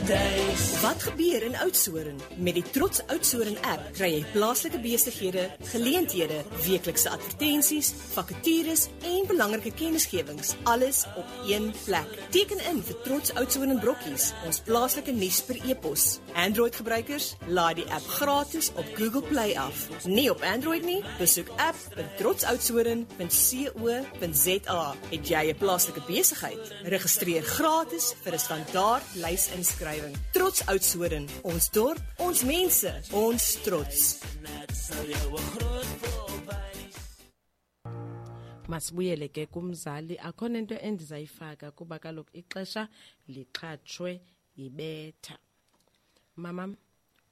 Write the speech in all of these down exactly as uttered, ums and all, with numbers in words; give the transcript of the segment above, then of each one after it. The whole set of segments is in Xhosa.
Paradys. Wat gebeur in Oudtshoorn? Met die Trots Oudtshoorn app kry jy plaaslike besighede, geleenthede, weeklikse advertensies, vakatures en belangrike kennisgewings, alles op een plek. Teken in vir Trots Oudtshoorn en Brokkies, ons plaaslike nuus per e-pos. Android-gebruikers, laai die app gratis op Google Play af. Nie op Android nie? Besoek app punt trots oudtshoorn punt co punt za. Het jy 'n plaaslike besigheid? Registreer gratis vir 'n standaard lysinskrywing. Trots Oudtshoorn, ons dorp, ons mense, ons trots. Masibuyele ke kumzali, akho nento endizayifaka kuba kaloku ixesha lixhatshwe yibetha. Mama,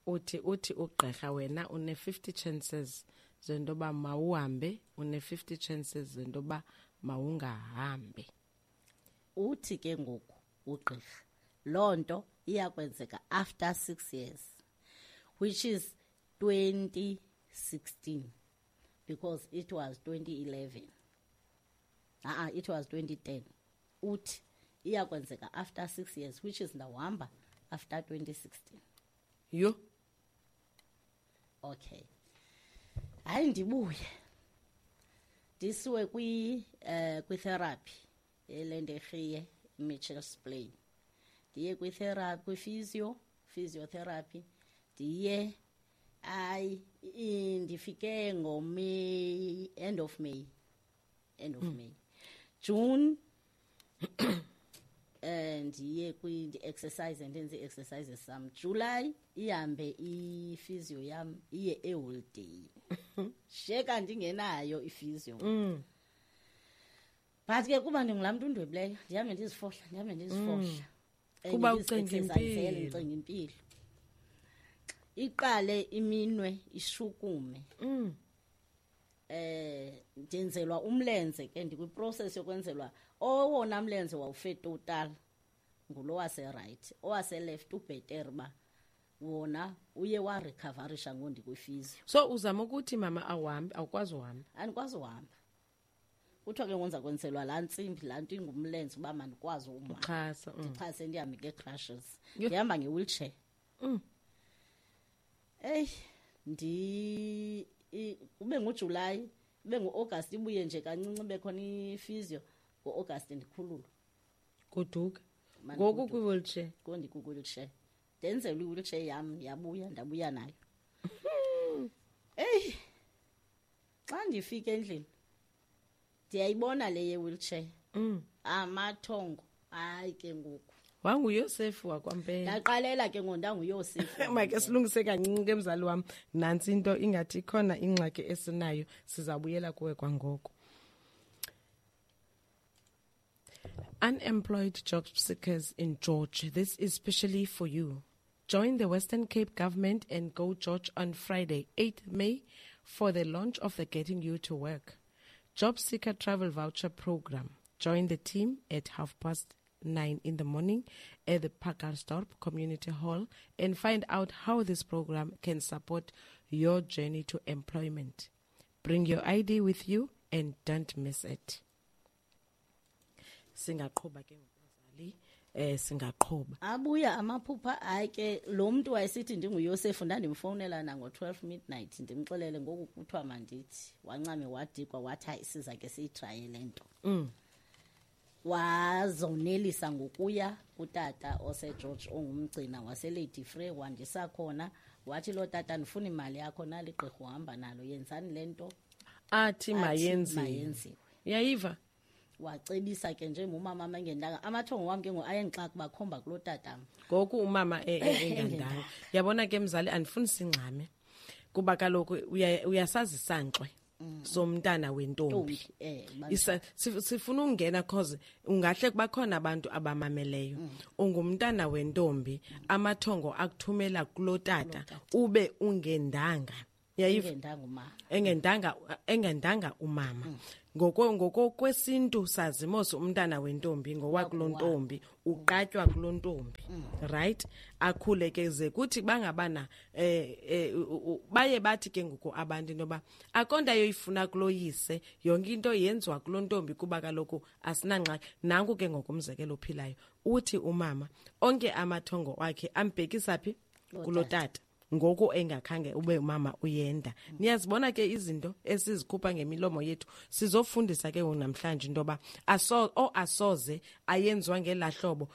uthi uthi ugqirha wena une fifty chances zentoba mawuhambe, une fifty chances zentoba mawungahambi. Uthi ke ngoku ugqirha loo nto iyakwenzeka after six years, which is twenty sixteen, because it was twenty eleven. Ah, it was twenty ten. Uthi iyakwenzeka after six years, which is ndawuhamba after twenty sixteen. Yho. Okay. Hayi, ndibuye ndisiwe kwi, eh, kwi-therapy eLenderhiye, Mitchells Plain. Ndiye kwi-therapy, kwi-physio, physiotherapy. Ndiye, hayi, i-, ndifike ngoMay, end of May. End of Mm. May. June, eh, ndiye kwi exercise, ndenze exercises sam. July ihambe i-physio yam iye eholiday. Sheka ndingenayo i-physio. Mm. But ke kuba ndingulaa mntu undwebileyo, ndihambe ndizifohla, ndihambe ndizifohla. Mm. Eh, Kuba ndizi ucinga exercise, impilo. ndicinga impilo. Iqale iminwe ishukume. Mm. Eh, ndenzelwa umlenze ke, ndikwi-process yokwenzelwa owona mlenze wawufe total ngulo wase right, owase left ubetter ba wona uye warecoverisha ngondikwi-physio. So uzama ukuthi mama awuhambi, awukwazi uhamba? Andikwazi uhamba. Kuthiwa ke ngonza kwenzelwa laa ntsimbi, laa nto ingumlenze uba mandikwazi uma. Uxhasa, mm. Ndixhase ndihambe ngee-crutches. Yho. Ndihamba nge-wheelchair. Mm. Eyi, ndi-, i-, kube nguJulayi, kube ngu-August, ibuye nje kancinci ibe khona i-physio. Ngo-August ndikhululwe. Goduka. Mane Ngoku goduka. kwi-wheelchair? Ngoku ndikwi-wheelchair. Ndenzelwe i-wheelchair yam, yabuya, ndabuya nayo. Eyi, xa ndifika endlini, ndiyayibona le ye-wheelchair. Mm. Amathongo, hayi ke ngoku. WanguYosefu wakwaMpela. Ndaqalela ke ngoku ndanguYosefu. Make silungise kancinci ke mzali wam. Nantsi into ingathi ikhona ingxaki esinayo, sizabuyela kuwe kwangoko. Unemployed job seekers in George, this is especially for you. Join the Western Cape government and go George on Friday, eighth May, for the launch of the Getting You to Work Job Seeker Travel Voucher Program. Join the team at half past nine in the morning at the Pacaltsdorp Community Hall and find out how this program can support your journey to employment. Bring your I D with you and don't miss it. Singaqhuba ke ngomzali, eh, singaqhuba. Abuya amaphupha, hayi ke lo mntu wayesithi ndinguYosefu, ndandimfowunela nango-twelve midnight, ndimxelele ngoku kuthiwa mandithi. Wancame wadikwa wathi hayi siza ke siyitraye le nto. Mm. Wazonelisa ngokuya kutata oseGeorge ongumgcina waseLady Frere, wandisa khona, wathi lo tata ndifuna imali yakho, nali gqirha uhamba nalo, yenzani le nto? Athi Athi mayenziwe. mayenziwe. Uyayiva? Wacebisa ke nje ngumama engendanga. Amathongo wam ke ngoku ayendixaka uba khomba kuloo tatam. Ngoku umama e-, e-, engandanga. Engandanga. Yabona ke mzali, andifuni singxame kuba kaloku uya-, uyasazi isankxwe Mm. somntana wentombi. Ntombi, eh, bantwana. Isa-, sif-, sifuna ungena cause ungahle kuba khona abantu abamameleyo. Mm. Ungumntana wentombi, amathongo akuthumela kuloo tata, Kuloo tata. ube ungendanga. Yayiva Engendanga umama. Engendanga engendanga umama. Ngoko ngoko kwesintu sazimos umntana wentombi ngowakulontombi, uqatywa kulontombi, right? Akhule ke ze kuthi bangabana eh, eh baye bathi ke ngoku abantu intoba akonda yoyifuna kuloyise, yonke into yenziwa kulontombi kuba kaloku asinangxaki. Nanku ke ngokumzekelo ophilayo, uthi umama onke amathongo wakhe ambhekisa phi? Kulotata. Ngoku engakhange ube umama uyenda. Niyazibona ke izinto esizikhupha ngemilomo yethu. Sizofundisa ke namhlanje intoba aso o asoze ayenziwa ngelahlobo.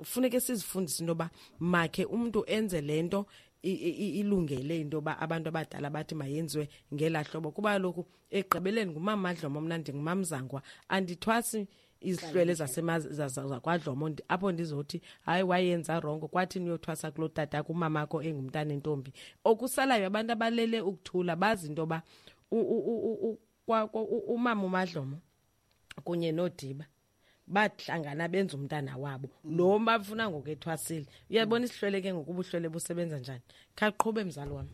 Funeke sizifundise intoba makhe umuntu enze lento ilungele intoba abantu abadala bathi mayenziwe ngelahlobo, kuba lokhu egqibeleni ngumama Dlomo, mna ndingumamzangwa, andithwasi izihlwele zasemakwadlomo apho ndizothi hayi wayenza wrong, kwathi niyothwasa kulo tata kumamakho engumntana entombi. Okusalayo abantu abalele ukuthula bazi intoba umama uMadlomo kunye noDiba bahlangana benza umntana wabo lo bafuna ngokethwasile. Uyabona isihlwele ke ngokubuhlwele busebenza njani? Khaqhube mzali wami.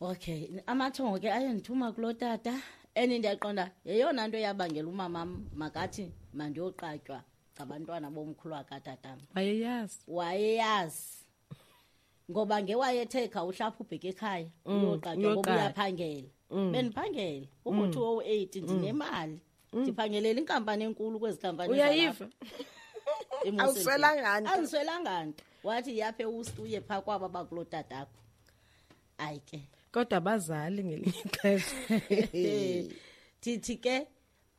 Okay, amathongo ke ayendithuma kulo tata. Eni ndiyaqonda yeyona nto yabangela umama makathi mandiyoqatywa ngabantwana bomkhulu wakatatam. Wayeyazi. Wayeyazi. Ngoba ngewayethe kha uhlapha ubheke ekhaya uyoqatywa ngoba uyaphangela. Bendiphangela uku two oh eight ndinemali. Ndiphangelela inkampani enkulu kwezi kampani. Uyayiva. Awuswelanga nto. Andiswelanga nto. Wathi yaphe ustuye pha kwaba bakulo tatakho. Ayi ke. Kodwa abazali ngelinye ixesha. Ndithi ke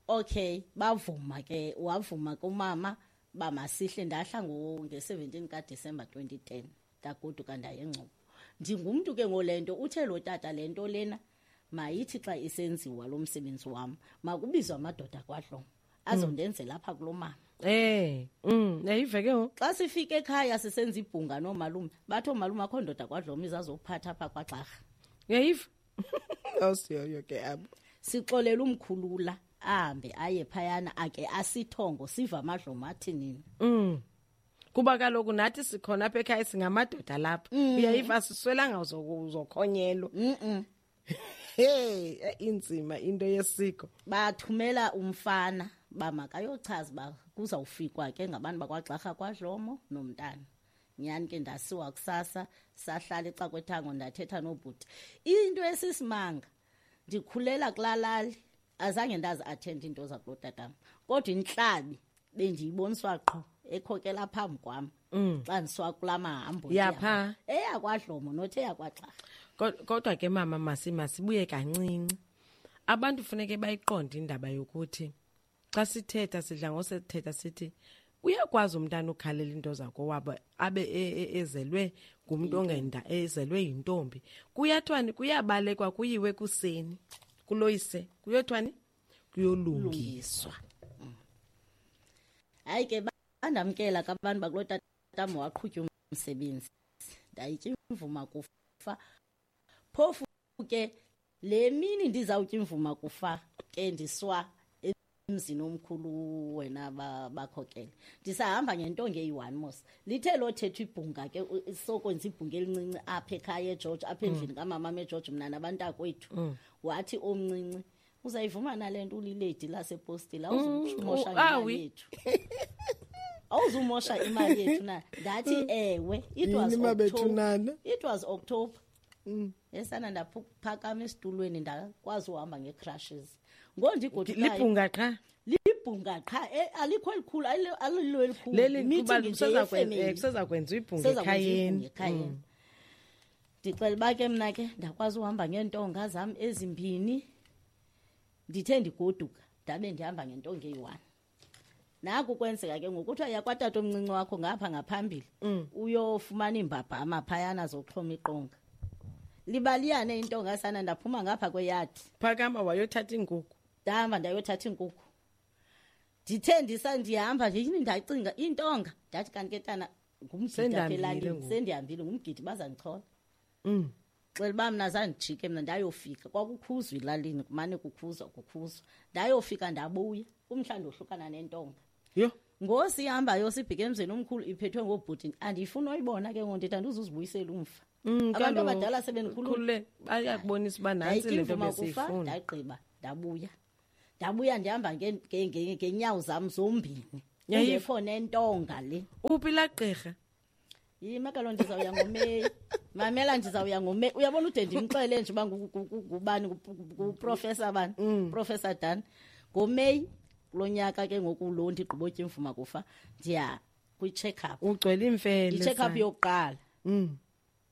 okay, bavuma ke, wavuma kumama ba masihle. Ndahla nge-seventeen kaDisemba twenty ten ndagoduka ndaye eNgcobo. Ndingumntu ke ngolento uthe lo tata lento lena mayithi xa isenziwa lo msebenzi wam makubizwa amadoda kwaDlomo azondenzela apha kulo mama. Eh, mm, yayive ke ngoku. Xa sifike ekhaya sisenza ibhunga noomalume, bathi oomalume akho ndoda kwaDlomo izazophatha apha kwaGxarha. Yayiva. Awusiyoyo ke abo. Sixolela umkhulula ahambe aye phayana ake asithongo siva amadlomo athi nini. Mm. Kuba kaloku nathi sikhona apha ekhaya singamadoda lapha. Uyayiva siswelanga uzokhonyelwa. Mhm. Hey, inzima into yesiko. Bathumela umfana ba makayochaza ba kuzawufikwa ke ngabantu bakwaGxarha kwaDlomo nomntana. Nyani ke ndasiwa kusasa sahlala ecakwethango ndathetha nobhuti. Into esisimanga ndikhulela kulalali azange ndazi attend into zakulo tatam. Kodwa inhlabi bendiyiboniswa qho ekhokela phambi kwam. Xa ndiswa kula mahambo yapha eyakwaDlomo nothi eyakwaGxarha. Kodwa ke mama masi masibuye kancinci. Abantu funeke bayiqonde indaba yokuthi xa sithetha sidla ngosethetha sithi uyakwazi umntana ukhalela into zakowabo abe ezelwe ngumuntu ongenda ezelwe yintombi. Kuyathwani kuyabalekwa kuyiwe kuseni kuloyise kuyothwani kuyolungiswa. Hayi ke bandamkela kabantu bakulo tatam waqhutywa umsebenzi. Ndayitya imvuma kufa. Phofu ke le mini ndizawutya imvuma kufa ke ndiswa emzini omkhulu wena bakhokele. Ndisahamba ngentonga eyi-one mos. Lithe lothetha ibhunga ke sokwenza ibhunga elincinci apha ekhaya eGeorge, apha endlini kamama eGeorge mna nabantakwethu. Wathi omncinci uzayivuma nale nto uliledi lasepostile awuzumosha imali yethu. Awuzumosha imali yethu na. Ndathi ewe, it was October. It was October. Esana ndaphakama esitulweni ndakwazi uhamba ngecrashes. Ngondigodukayo libhunga qha. Libhunga qha, alikho elikhulu, alilo elikhulu. Leli kuba kusezakwenza ibhunga ekhayeni. Ndicela uba ke mna ke ndakwazi uhamba ngeentonga zam ezimbini. Ndithe ndigoduka ndabe ndihamba ngentonga eyi-one. Naku kwenzeka ke ngoku kuthiwa yakwatata omncinci wakho ngapha ngaphambili uyofumana iimbabhama phayana zokuxhoma iqonga. Libaliyane intonga sana ndaphuma ngapha kweyadi. Phakama wayothatha iinkukhu. Ndahamba ndayothatha iinkukhu. Ndithe ndisa ndihamba nje yini ndacinga intonga ndathi kanti ke tana ngumgidi apha elalini sendihambile ngumgidi bazandichola. Mm. Xela uba mna zandijike mna ndayofika kwakukhuzwa elalini kumane kukhuzwa kukhuzwa ndayofika ndabuya umhla ndohlukana nentonga. Yho. Ngosihambayo sibheke emzini omkhulu iphethwe ngobhuti, andifuni oyibona ke ngoku, ndithi andizuzibuyisela umva. Mm, Abantu kaloku, abadala sebendikhulule. Khulule, bayakubonisa uba nantsi le nto Ndayitya imvuma kufa, besiyifuna. Ndagqiba, ndabuya. Ndabuya ndihamba nge-, nge-, nge-, ngeenyawo zam zombini. Yayiva. Kungekho nentonga le. Uphi laa gqirha? Yima kaloku, ndizawuya ngoMeyi. Mamela, ndizawuya ngoMeyi. Uyabona ude ndimxele nje uba ngu-, ngu-, ngu-, ngubani, ngu-, ngu-, nguProfessor bani? Mm. Professor Dan. NgoMeyi kulo nyaka ke ngoku lo ndigqibotya imvuma kufa, ndiya kwi-check-up. Ugcwele iimfele, I-check-up sana. yokuqala. Mm.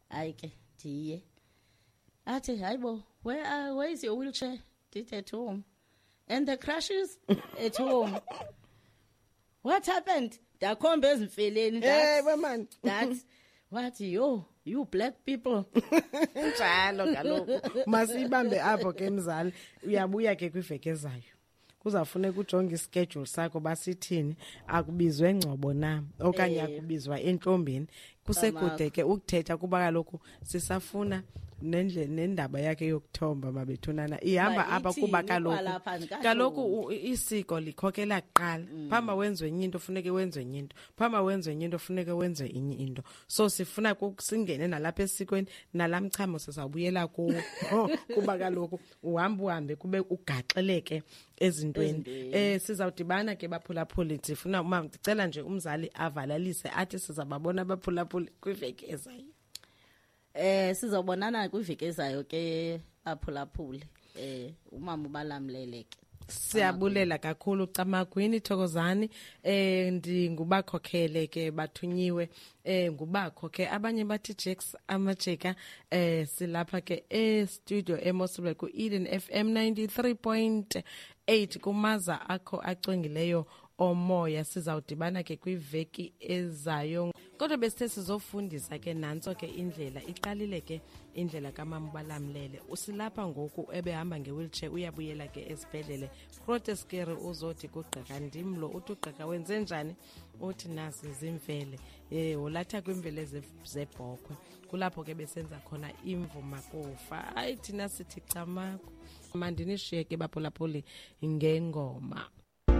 Hayi ke, ndiye. Athi, hayi bo, where, uh, where is your wheelchair? Ndithi at home. And the crutches at home. What happened? Ndakhomba ezimfeleni, Eh, ndathi, we man. Ndathi, wathi, yo, you black people. Njalo kaloku. Masibambe apho ke mzali. Uyabuya ke kwiveki ezayo. Kuzawufuneka ujonge ischedule sakho basithini, akubizwe Ngcobo na okanye Eh. akubizwa entlombeni. Kusekude ke ukuthetha kuba kaloku sisafuna nendle-, nendaba yakhe yokuthomba mabethunana. Ihamba Uba apha kuba ithini kaloku kwalapha andikahloli. kaloku u-, isiko likhokela kuqala. Mm. Phambi wenziwe enye into funeke wenziwe enye into. Phambi wenziwe enye into funeke wenziwe enye into. So sifuna ku-, singene nalapha esikweni nalamchamo sizawubuyela kuwo. Kuba kaloku uhamba uhambe kube ugaxeleke ezintweni. Ezintweni. Eh, sizawudibana ke baphulaphuli. Ndifuna uma ndicela nje umzali avalalise athi sizababona abaphulaphuli kwiveki ezayo. Eh, sizobonana kwiveki ezayo ke baphulaphuli. Eh, umama ubalamlele ke. Siyabulela kakhulu Camagwini, Thokozani. Eh, ndingubakhokhele ke bathunyiwe, eh, ngubakho ke abanye bathi Jakes Amajeka. Eh, silapha ke e studio eMosselberg ku Eden F M ninety-three point eight kumaza akho acwengileyo omoya. Sizawudibana ke kwiveki ezayo. Kodwa besithe sizofundisa ke nantso ke indlela iqalile ke indlela kamama uBalamlele. Usilapha ngoku ebehamba nge-wheelchair uyabuyela ke esibhedlele. Groote Schuur uzothi kugqirha ndim lo, uthi ugqirha wenze njani? Uthi nazi zimvele. Eh, wolatha kwimvele ze-, zebhokhwe. Kulapho ke besenza khona imvuma kufa. Hayi thina sithi camagu. Mandinishiye ke baphulaphuli ngengoma.